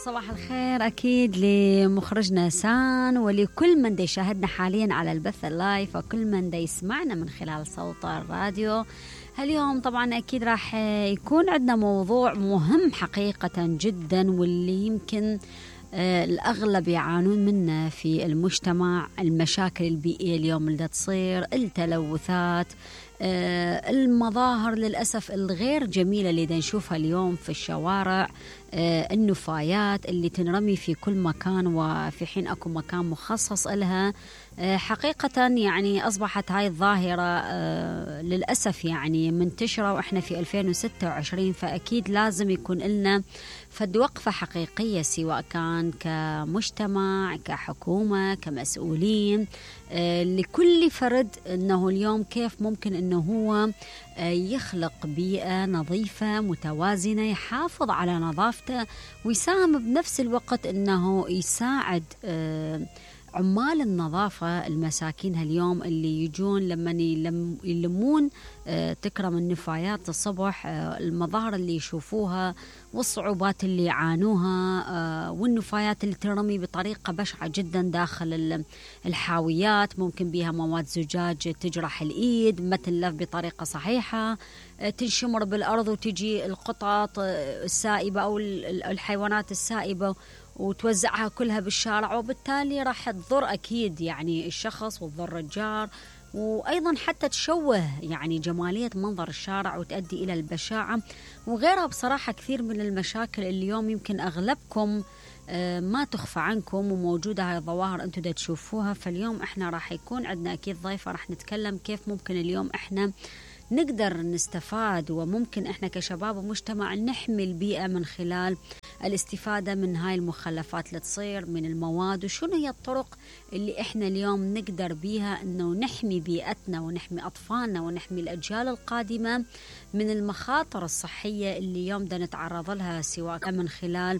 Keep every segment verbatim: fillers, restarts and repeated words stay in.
صباح الخير أكيد لمخرجنا سان ولكل من دا يشاهدنا حاليا على البث اللايف وكل من دا يسمعنا من خلال صوت الراديو. اليوم طبعا أكيد راح يكون عندنا موضوع مهم حقيقة جدا واللي يمكن آه الأغلب يعانون منه في المجتمع، المشاكل البيئية اليوم اللي تصير، التلوثات، آه المظاهر للأسف الغير جميلة اللي دا نشوفها اليوم في الشوارع، آه النفايات اللي تنرمي في كل مكان وفي حين أكو مكان مخصص لها. آه حقيقة يعني أصبحت هاي الظاهرة آه للأسف يعني منتشرة وإحنا في ألفين وستة وعشرين، فأكيد لازم يكون لنا فد وقفة حقيقية سواء كان كمجتمع كحكومة كمسؤولين آه لكل فرد أنه اليوم كيف ممكن أنه هو آه يخلق بيئة نظيفة متوازنة، يحافظ على نظافته ويساهم بنفس الوقت أنه يساعد آه عمال النظافة المساكين هاليوم اللي يجون لما يلم يلمون آه تكرم النفايات الصبح، آه المظاهر اللي يشوفوها والصعوبات اللي يعانوها، آه والنفايات اللي ترمي بطريقة بشعة جدا داخل الحاويات، ممكن بها مواد زجاج تجرح الإيد ما تنلف بطريقة صحيحة، آه تنشمر بالأرض وتجي القطط السائبة أو الحيوانات السائبة وتوزعها كلها بالشارع، وبالتالي راح تضر أكيد يعني الشخص وتضر الجار، وأيضا حتى تشوه يعني جمالية منظر الشارع وتؤدي إلى البشاعة وغيرها. بصراحة كثير من المشاكل اليوم يمكن أغلبكم ما تخفى عنكم وموجودة هاي الظواهر أنتم دا تشوفوها. فاليوم إحنا راح يكون عندنا أكيد ضيفة راح نتكلم كيف ممكن اليوم إحنا نقدر نستفاد وممكن إحنا كشباب ومجتمع نحمي البيئة من خلال الاستفادة من هاي المخلفات اللي تصير من المواد، وشنو هي الطرق اللي إحنا اليوم نقدر بيها إنه نحمي بيئتنا ونحمي أطفالنا ونحمي الأجيال القادمة من المخاطر الصحية اللي اليوم دا نتعرض لها سواء من خلال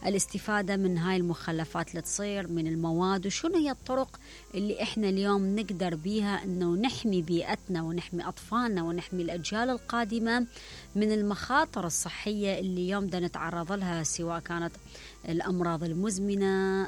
الاستفادة من هاي المخلفات اللي تصير من المواد، وشنو هي الطرق اللي إحنا اليوم نقدر بيها إنه نحمي بيئتنا ونحمي أطفالنا ونحمي الأجيال القادمة من المخاطر الصحية اللي اليوم دا نتعرض لها سواء كانت الأمراض المزمنة،